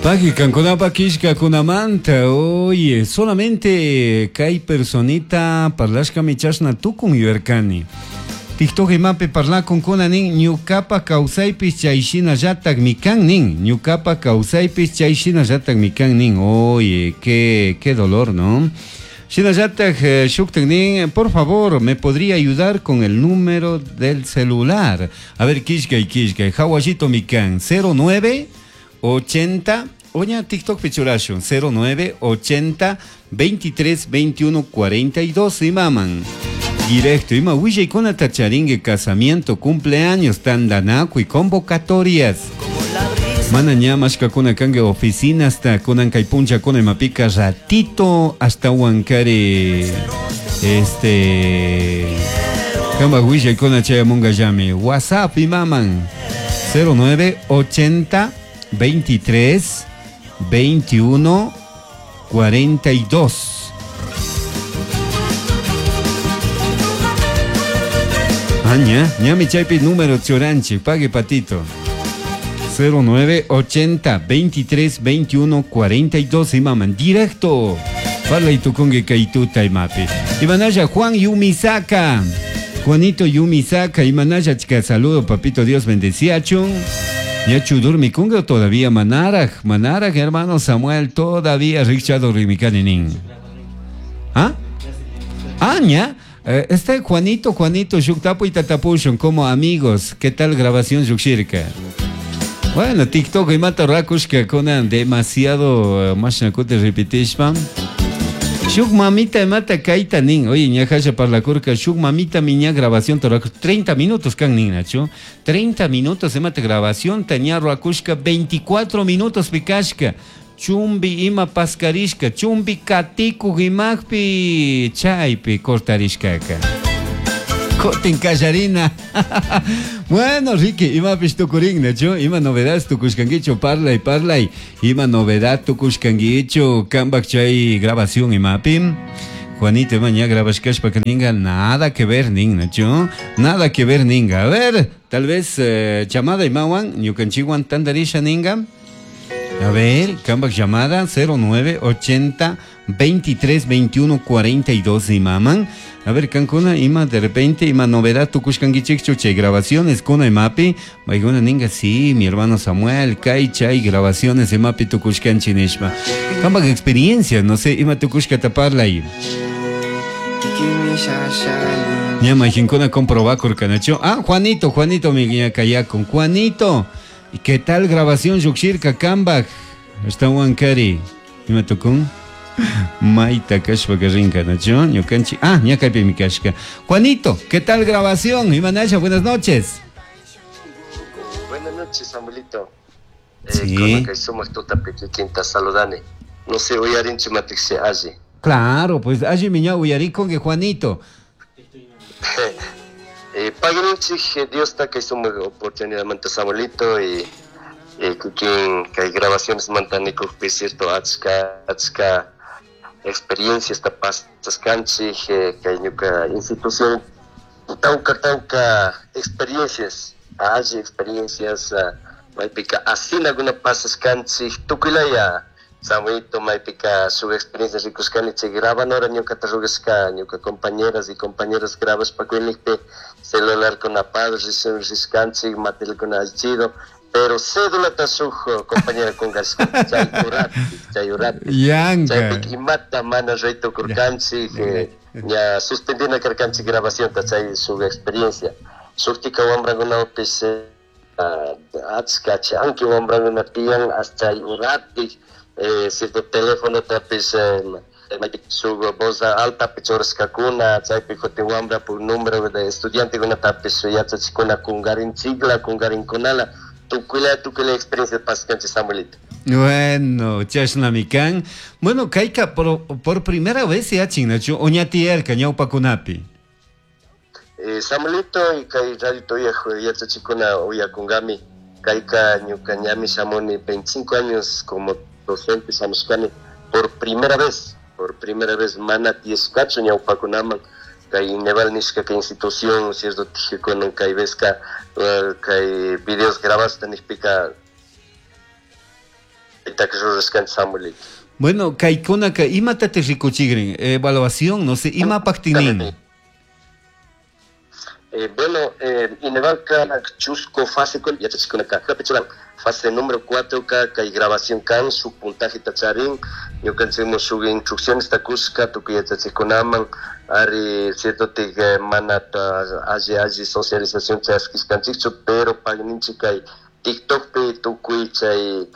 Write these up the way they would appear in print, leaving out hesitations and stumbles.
Pagui kankunapa killkakunamanta, oye, solamente kay personita parlashkami chashna tukun yuyarkani. TikTok imapi parlakunkuna nin ñukapa kawsaypish chay shinallatakmi kan nin, ñukapa kawsaypish chay shinallatakmi kan nin. Oye, qué, qué dolor, ¿no? Shinallatak shuktak nin, por favor, me podría ayudar con el número del celular. A ver, killkay, killkay, hawallitomi kan, 09 80, oña TikTok pichurashun, 09 80 23 21 42 imaman. Directo, ima willaykunata charingue casamiento, cumpleaños, tandanakuy, convocatorias. Mana ña mashkakuna kanka oficinasta kunan kay punchakuna imapika ratito hasta Huancari este kamba willaykuna chayamunkallami WhatsApp imaman 09 80 23 21 42. Ah, ña, ñami chaypi número churanchik, pague patito. 09 80 23 21 42 imaman directo. Parlay tukunki kay tuta imapi. Imanalla Juan Yumisaka. Juanito Yumisaka, imanalla chica saludo papito Dios bendeciachun. Ñachu durmikunga todavía manaraj, manaraj hermano Samuel todavía Richard Rimikani nin. ¿Ah? Ah, ña. Este Juanito, Juanito, shuktapu y tatapushun como amigos. ¿Qué tal grabación shukshirka? Bueno, TikTok y mata rakushka kunan demasiado mashnakute repetishpa. Shuk mamita mata kaita nin. Oye, ña parlakurka, shuk mamita miña grabación torakush 30 minutos kan nin, Nacho. 30 minutos mata grabación taña rakushka 24 minutos pikashka. Chumbi ima paskarishka, chumbi katiku imakpi chaypi cortarishkaka. Kotin kallarina. Bueno, Ricky, imapish tukurin, Nacho, ima novedades tukushkankichu, parlay, parlay, ima novedad tukushkankichu, kambak chay grabación imapi. Juanito, ima ña grabashkashpa ninga, nada que ver, nin, Nacho, nada que ver, ninga. A ver, tal vez llamada imawan, ñukanchiwan tandarisha ninga. A ver, kambak llamada 09 80 23 21 42 imaman. A ver, kankuna ima de repente ima novedad tukushkankichikchu chay grabaciones kuna imapi. Mayguna ninga, sí, mi hermano Samuel, kay chay grabaciones imapi tukushkanchi nishpa. Kambak experiencia, no sé, ima tukushkata parlay. Ña majinkuna comprobakurka, Nacho. Ah, Juanito, Juanito, mi ña kayakun. Juanito, ¿y qué tal grabación yukshirka kambak? Está Huancari. Ima tukun? Maita kashpa rinka, Nacho. Ñukanchi. Ah, ña kaypi mi kashka. Juanito, ¿qué tal grabación? Imanasha, buenas noches. Buenas noches, Samuelito. Sí. Con la que somos tuta pequeñita saludane. No sé, uyarinchu matixi allí. Claro, pues allí miña uyarí con que Juanito. Pagrinchik, Dios está que somos oportunidad manta Samuelito y quien que hay grabaciones mantanico cierto achka achka experiencia esta pasas canchi que hay ñuka institución tauka tauka experiencias allí experiencias maypika así alguna pasas canchi tukuylaya Samuelito maypika su experiencia rikusqani chay graban ahora ñuka tarrugasqa ñuka compañeras y compañeros grabas pa kuinikpi celular con apado riskanchik material con alchido pero cédula ta shuk compañera con gasca chay urati chay urati Yanka. chaypik imata mana rey tukurkanchik, ña suspendina karkanchik grabación ta chay su experiencia shuktika wambrakunapis, achka chanki wambrankuna tiyan hasta chay urati, cierto teléfono tapis, su voz alta pichorskakuna chaypi kutin wambra por número de estudiante kuna tapis yachachikuna kungarinchikla kungarinkunala tukuyla tukuyla experiencia paskanchik Samuelito. Bueno, chashnami kan. Bueno, kayka por primera vez se hacen, Nacho, oñatierka ñawpakunapi. Samuelito y kay radio toya yachachikuna uyakungami kayka ñuka ñami shamuni 25 años como docente shamushkani por primera vez, por primera vez mana tiyashkachu ñawpakunaman kay Ineval nishka kay institución, cierto, tijikunan kay vezka, kay videos grabasta nishpika Chaytaka rurashkanchik, Samuelito. Bueno, kaykunaka imatataq rikuchikrin? Evaluación, no sé, imapaqtinin? Bueno, Inevalka chusku fase yachachikunaka churan. Fase número 4 ka kay grabación kan shuk puntaje charin, ñukanchikmun shuk instrucciones kushka tukuy yachachikunaman ari. Cierto tik mana alli alli socialización chaskishkanchikchu, pero pagninchik kay TikTokpi tukuy chay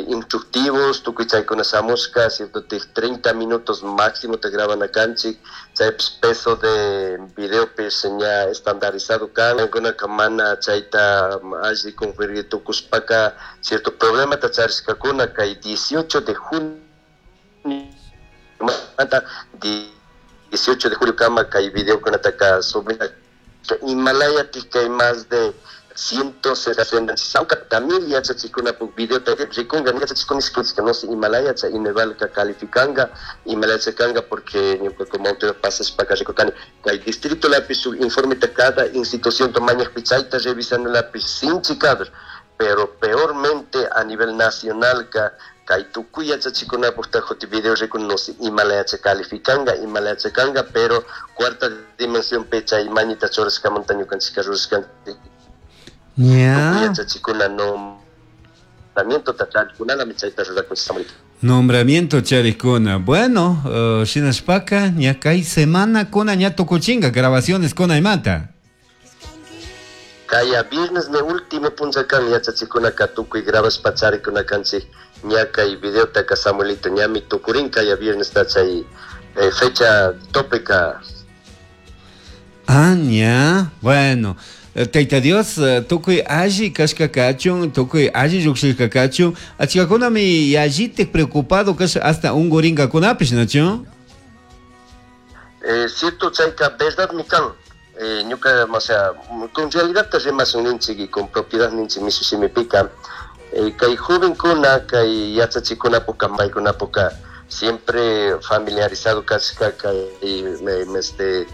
instructivos, tukuy chaykuna shamushka. Cierto tik 30 minutos máximo te grabana kanchik, chaypish peso de videopish ña estandarizado kan. Kunaka mana chayta alli cumplir tukushpaka cierto problemata charishkakuna kay 18 de junio 18 de julio kama kay videokunataka subina. Himalaya kay más de 160 mil yachachikunapuk videota rikunga yachachikuna. No sé Himalaya chay Inevalka calificanga, Himalaya kanga, porque ñuka como autoridad pasashpaka rikurkani kay distrito lapi shuk informeta cada institución mañakpi, chayta revisando lapi sinchi kadr, pero peormente a nivel nacional ka kay tukuy yachachikunapuk tajuti video rikun, no sé Himalaya calificanga, Himalaya kanga, pero cuarta dimensión pe chay mañita churashkamanta ñukanchika rurashkanchik. Yachachikuna nombramiento charikunalami chayta rurakunchik, Samuelito. Nombramiento charikuna. Bueno, shinashpaka ña kay semana kuna ña tukuchinga grabaciones kuna imata. Kaya viernes me último puncha kan yachachikunaka tukuy grabashpa charikuna kanchik ña kay videotaka, Samuelito, ñami tukurin kaya viernes ta chay fecha topeka. Ah, ña. Bueno. Tayta Dios, tukuy alli kashka kachun, tukuy alli llukshishka kachun. Achkakunami yallitik preocupado kasha, hasta ungurinkakunapish, ¿nachu? Cierto, chayka verdad mi kan. Ñuka, o sea, con realidad te rimashun ninchik y con propiedad ninchik mishu shimipika. Kay jovenkuna, kay yachachikunapuka, paykunapuka siempre familiarizado kashka kay este